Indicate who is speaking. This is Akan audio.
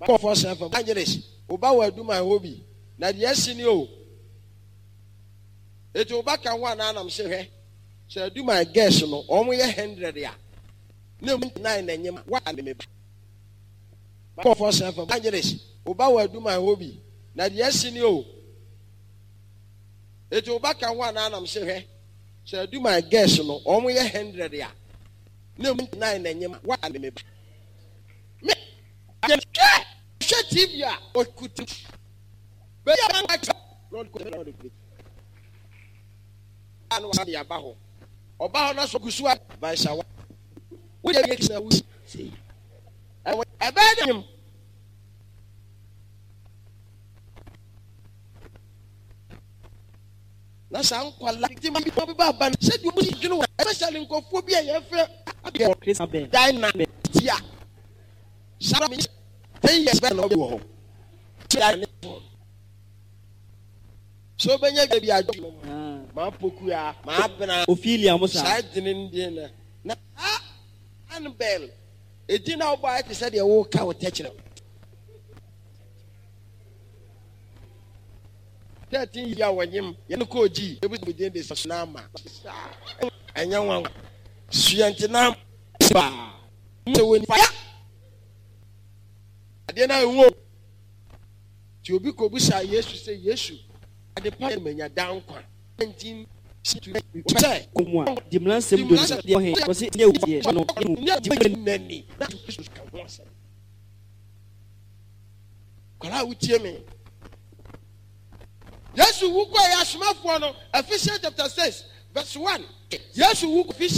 Speaker 1: Makɔ Force FM. Evangelist, wo ba wɔ Aduman hɔ bi, na deɛ asi ni o. Eti wo ba ka ho anaa nam se hwɛ, sɛ Aduman girls no wɔn yɛ 100 a, na emu 99 na nyem a, wa ne me ba. Makɔ Force FM. Evangelist, wo ba wɔ Aduman hɔ bi, na deɛ asi ni o. Eti wo ba ka ho anaa nam se hwɛ, sɛ Aduman girls no wɔn yɛ 100 a, na emu 99 na nyem a, wa ne me ba. Me hwɛ hwɛ TV a ɔkuta baabi a na ɔde na ɔde kɔ a na wade aba hɔ ɔba hɔ na so gu so a vaisa wa woyɛ yɛ na wo sei ɛbɛyɛ dɛ nyim na saa nkwala ti ma bi ba ba no sɛdeɛ ɔmo si dwene wɔ especially nkurɔfoɔ bi a yɛfrɛ
Speaker 2: Christabel.
Speaker 1: Dina tia saa mi 10 years bɛn na ɔbɛ wɔ hɔ tia ne phone so ɔbɛnya bi adwo maa pokua maa bena
Speaker 2: Ophelia mo saa.
Speaker 1: Saa dene no deɛ na na saa Annabel edin na wobɔ ayɛ te sɛ deɛ woka wo tɛkyerɛ 13 yi a wɔnyem yɛn kɔɔ gyi ebi sɛ din de sunama ɛnyɛ nwanwa suantenam paa sɛ wɔn nifa ya adeɛ no a ɛwɔ nti obi kɔbisa Yesu sɛ, Yesu, ade pa yɛ manya daa nkwa nti sɛ
Speaker 2: Mu a di mmara nsɛm du no deɛ ɔhe wɔsi nyɛ wo deɛ no mu di
Speaker 1: mu nani na Kristo ka ho asɛm. Kwadaa a wotie me, Yesu wu kɔɛ asomafoɔ no, Ephesians chapter 6 verse 1, Yesu wu Ephesians.